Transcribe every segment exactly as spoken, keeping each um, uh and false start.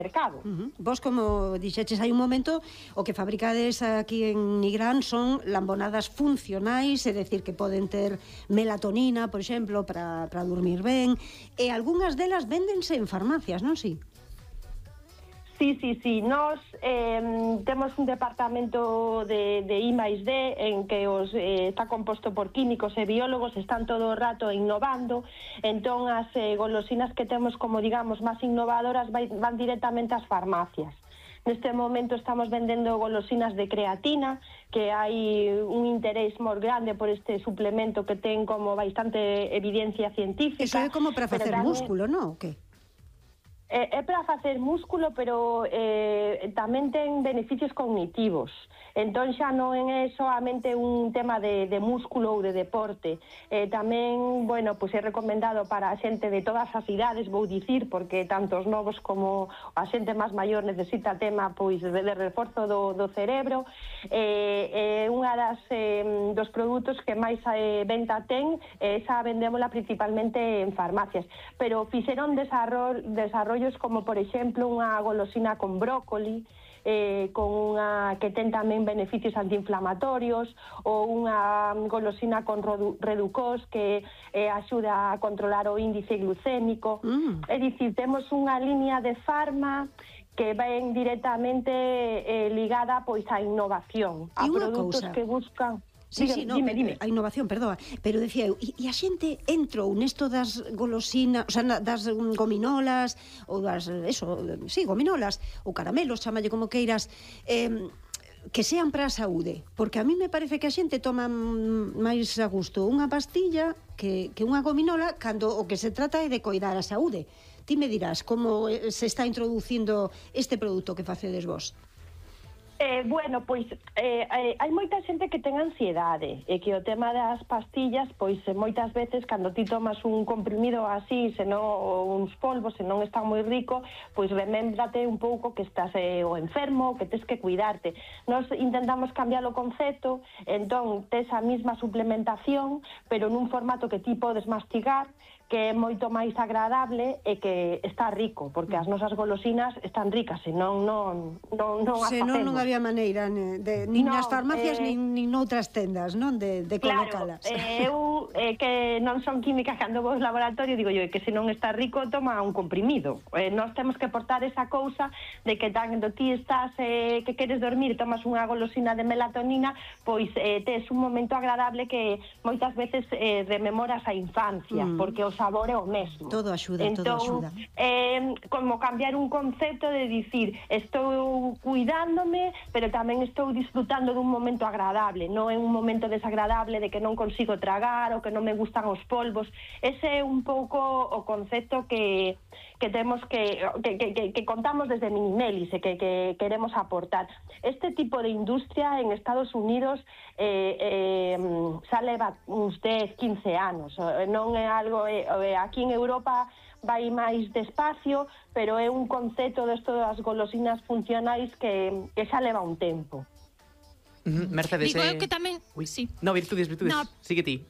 mercado. Uh-huh. Vos, como dixeches hai un momento, o que fabricades aquí en Nigrán son lambonadas funcionais, é dicir, que poden ter melatonina, por exemplo, para, para dormir ben, e algunhas delas véndense en farmacias, non si? Sí, sí, sí. Nos eh, temos un departamento de, de I máis D en que os, eh, está composto por químicos e biólogos, están todo o rato innovando, entón as eh, golosinas que temos como, digamos, máis innovadoras vai, van directamente ás farmacias. Neste momento estamos vendendo golosinas de creatina, que hai un interés moi grande por este suplemento que ten como bastante evidencia científica. Eso é como para facer tamén músculo, non? O que? É, é para facer músculo, pero eh, tamén ten beneficios cognitivos. Entón xa non é solamente un tema de, de músculo ou de deporte. Eh, tamén, bueno, pois é recomendado para a xente de todas as idades, vou dicir, porque tanto os novos como a xente máis maior necesita tema pois de, de reforzo do, do cerebro. É eh, eh, unha das eh, dos produtos que máis eh, venta ten, eh, esa vendémola principalmente en farmacias. Pero fixeron desarrollo, desarrollos como, por exemplo, unha golosina con brócoli, Eh, con unha que ten tamén beneficios antiinflamatorios, ou unha golosina con redu reducós que eh, axuda a controlar o índice glucémico. Mm. É dicir, temos unha línea de farma que ven directamente eh, ligada pois á innovación, a produtos cousa que buscan. Sí, Diga, sí, no, dime, dime. A innovación, perdoa, pero decía eu, e, e a xente entrou nesto das golosinas, o sea, das gominolas, ou das, eso, sí, gominolas, ou caramelos, chamalle como queiras, eh, que sean para a saúde, porque a mí me parece que a xente toma máis a gusto unha pastilla que, que unha gominola, cando o que se trata é de coidar a saúde. Ti me dirás como se está introducindo este produto que facedes vos. Eh, bueno, pois eh, eh, hai moita xente que ten ansiedade e que o tema das pastillas, pois eh, moitas veces cando ti tomas un comprimido así, senón uns polvos, se non está moi rico, pois remémbrate un pouco que estás eh, o enfermo, que tes que cuidarte. Nos intentamos cambiar o concepto, entón tes a mesma suplementación, pero nun formato que ti podes mastigar, que é moito máis agradable e que está rico, porque as nosas golosinas están ricas, senón non, non, non as facemos. Senón non había maneira, de, nin no, nas farmacias, eh, nin, nin noutras tendas, non? De, de colocalas. Claro, eh, eu, eh, que non son químicas cando vou ao laboratorio, digo yo, que se non está rico, toma un comprimido. Eh, nós temos que portar esa cousa de que cando ti estás, eh, que queres dormir, tomas unha golosina de melatonina, pois eh, tes un momento agradable que moitas veces eh, rememoras a infancia, mm. porque os sabor é o mesmo. Todo axuda, entón, todo axuda. Eh, como cambiar un concepto de dicir, estou cuidándome, pero tamén estou disfrutando dun momento agradable, non é un momento desagradable de que non consigo tragar ou que non me gustan os polvos. Ese é un pouco o concepto que que temos que que, que, que contamos desde Minimelis e que, que queremos aportar. Este tipo de industria en Estados Unidos eh, eh, xa leva uns dez, quince anos, non é algo eh, aquí en Europa vai máis despacio, pero é un concepto desto das golosinas funcionais que, que xa leva un tempo. Uh-huh. Mercedes, digo eh... eu que tamén... Uy. Sí. No, virtudes, virtudes, no. sigue ti.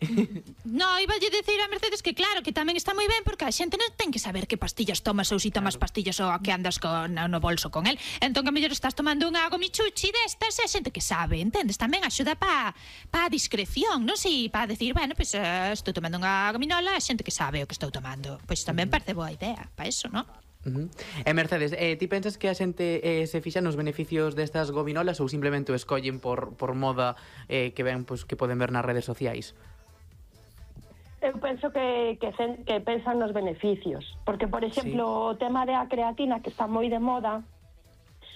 No, iba a dicir a Mercedes que claro, que tamén está moi ben porque a xente non ten que saber que pastillas tomas ou si tomas claro. pastillas ou a que andas con, no bolso con el. Entón que a mellor estás tomando unha gomichuchi destas e a xente que sabe, entendes? Tamén axuda pa, pa discreción, non si pa decir, bueno, pois pues, uh, estou tomando unha gominola, a xente que sabe o que estou tomando. Pois pues, tamén parece boa idea, pa eso, non? Uh-huh. E Mercedes, eh, ti pensas que a xente eh, se fixa nos beneficios destas gominolas ou simplemente o escollen por, por moda eh, que ven, pues, que poden ver nas redes sociais? Eu penso que, que, que pensan nos beneficios, porque, por exemplo, sí. o tema da creatina, que está moi de moda,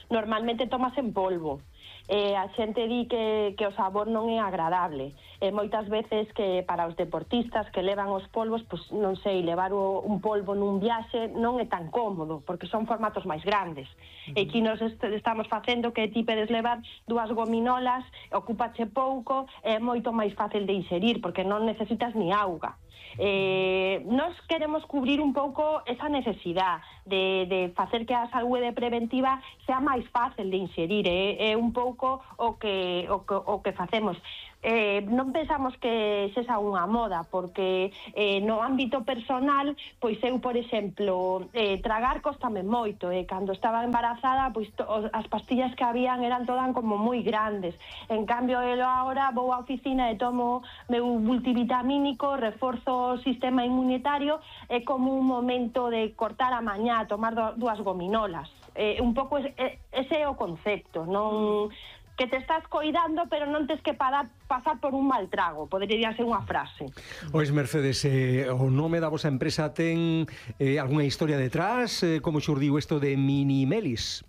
normalmente tomas en polvo. Eh, a xente di que, que o sabor non é agradable. E moitas veces que para os deportistas que levan os polvos, pues, non sei, levar o, un polvo nun viaxe non é tan cómodo, porque son formatos máis grandes. Uh-huh. E aquí nos est estamos facendo que ti pedes levar dúas gominolas, ocúpache pouco, é moito máis fácil de inserir, porque non necesitas ni auga. Eh, nos queremos cubrir un pouco esa necesidade de, de facer que a saúde preventiva sea máis fácil de inserir, é, é un pouco o que, o, que, o que facemos. eh, non pensamos que sexa unha moda, porque eh, no ámbito personal, pois eu, por exemplo, eh, tragar costame moito, e eh, cando estaba embarazada, pois to, as pastillas que habían eran todas como moi grandes. En cambio, eu agora vou á oficina e tomo meu multivitamínico, reforzo o sistema inmunitario, é como un momento de cortar a mañá, tomar do, dúas gominolas. Eh, un pouco ese, ese é o concepto, non que te estás coidando, pero non tes que parar, pasar por un mal trago, podería ser unha frase. Ois, Mercedes, eh, o nome da vosa empresa ten eh, algunha historia detrás? Eh, como xurdiu isto de Minimelis?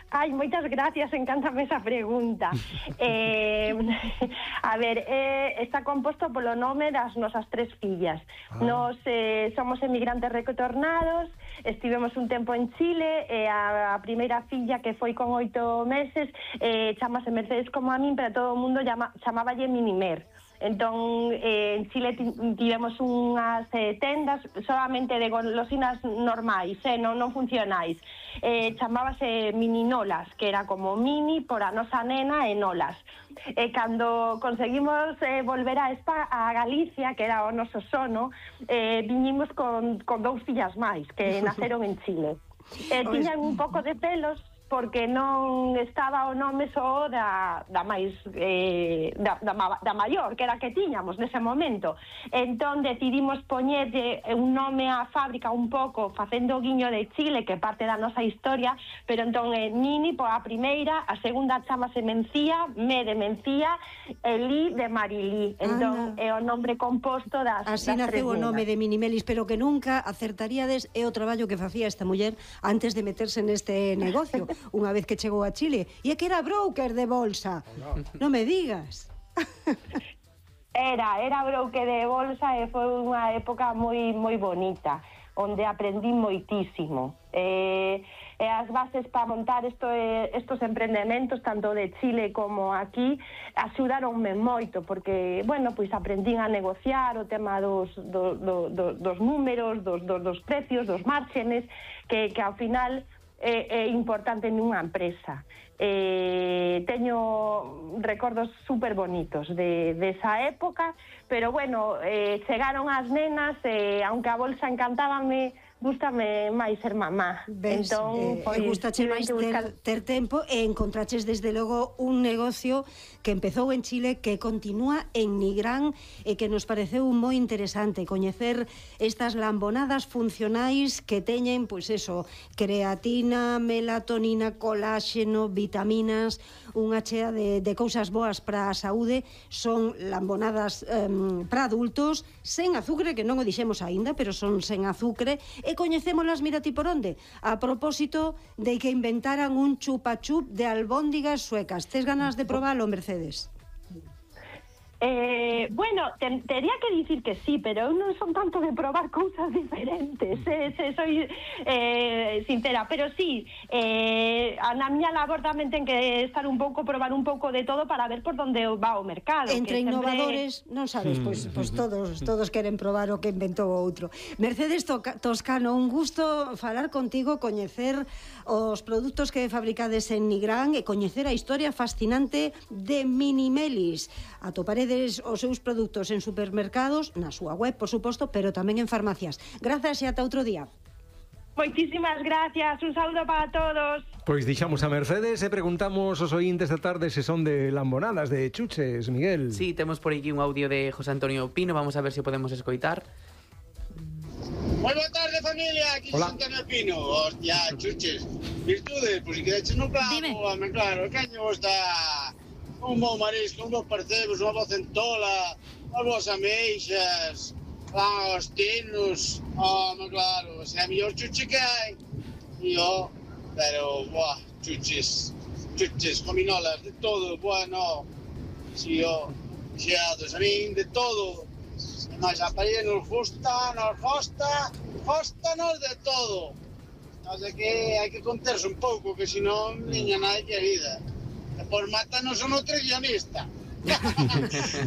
Ai, moitas gracias, encántame esa pregunta. eh, a ver, eh, está composto polo nome das nosas tres fillas. Ah. Nos eh, somos emigrantes retornados, estivemos un tempo en Chile, e a, a primeira filla, que foi con oito meses, eh, chamase Mercedes como a min, pero todo o mundo llama, chamáballe Minimer. Entón, eh, en Chile tivemos unhas eh, tendas solamente de golosinas normais, eh, non, non funcionais. Eh, chamábase Mininolas, que era como mini por a nosa nena e nolas. E cando conseguimos eh, volver a, Espa, a Galicia, que era o noso sono, eh, viñimos con, con dous fillas máis, que naceron en Chile. Eh, tiñan un pouco de pelos, porque non estaba o nome só da, da máis eh, da, da, da maior, que era que tiñamos nese momento. Entón decidimos poñerlle un nome á fábrica un pouco facendo o guiño de Chile, que parte da nosa historia, pero entón é Mini por a primeira, a segunda chamase Mencía, Me de Mencía, e Li de Marilí. Entón é o nombre composto das, así das tres naceu o nome nenas. de Minimelis, pero que nunca acertaríades é o traballo que facía esta muller antes de meterse neste negocio. Unha vez que chegou a Chile, e é que era broker de bolsa. Non me digas. Era, era broker de bolsa, e foi unha época moi moi bonita, onde aprendí moitísimo. Eh, e as bases para montar esto, eh, estos empreendementos, tanto de Chile como aquí, axudaronme moito, porque, bueno, pois aprendín a negociar o tema dos, do, do, do, dos números, dos, dos, dos precios, dos márgenes, que, que ao final é, é importante nunha empresa. Eh, teño recordos super bonitos de, de esa época, pero bueno, eh, chegaron as nenas, e aunque a bolsa encantábame, gústame máis ser mamá. Ves, entón, eh, pois, gustache máis ter, buscar... ter tempo, e encontraches desde logo un negocio que empezou en Chile, que continúa en Nigrán, e que nos pareceu moi interesante coñecer estas lambonadas funcionais que teñen, pois eso, creatina, melatonina, coláxeno, vitaminas, unha chea de, de cousas boas para a saúde. Son lambonadas eh, para adultos, sen azúcar, que non o dixemos aínda, pero son sen azúcar, e coñecémolas, mira ti por onde, a propósito de que inventaran un chupa-chup de albóndigas suecas. Tes ganas de probalo, Mercedes? Eh, bueno, te, tería que dicir que sí, pero eu non son tanto de probar cousas diferentes, eh, se soy eh, sincera, pero sí, eh, a na miña labor tamén ten que estar un pouco, probar un pouco de todo para ver por onde va o mercado. Entre que innovadores, sempre... non sabes, pois, pois todos todos queren probar o que inventou o outro. Mercedes Toscano, un gusto falar contigo, coñecer os produtos que fabricades en Nigrán e coñecer a historia fascinante de Minimelis. Atoparedes os seus produtos en supermercados, na súa web, por suposto, pero tamén en farmacias. Grazas e ata outro día. Moitísimas gracias, un saúdo para todos. Pois dixamos a Mercedes e preguntamos aos ointes da tarde se son de lambonadas, de chuches, Miguel. Sí, temos por aquí un audio de José Antonio Pino, vamos a ver se podemos escoitar. Moi boa tarde, familia, aquí José Antonio Pino. Hostia, chuches, virtudes, pois si quedaches no clavo, home, claro, caño está un bon marisco, un bon percebos, unha boa centola, unhas boas ameixas, ah, os tinos, home, claro, se é a mellor chuche que hai. Yo, pero, boa, chuches, chuches, gominolas, de todo, bueno, si yo, xeados, a min, de todo. Mas a parella nos gusta, nos gosta, gostanos de todo. Así que hai que conterse un pouco, que senón, niña nai querida. E por mátanos o nutricionista.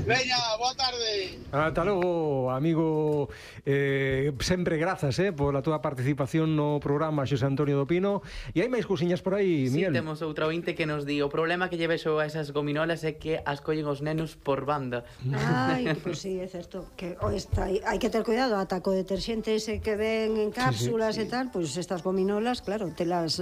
Veña, boa tarde. Ata logo, amigo. eh, Sempre grazas eh, pola túa participación no programa, Xosé Antonio do Pino. E hai máis cousiñas por aí, Sí, Miguel? temos outra ointe que nos di: o problema que lle vexo a esas gominolas é que as collen os nenos por banda. Ai, pois pues sí, é certo que o está, hai que ter cuidado ata co deterxente ese que ven en cápsulas sí, sí. e tal, pois pues estas gominolas, claro, telas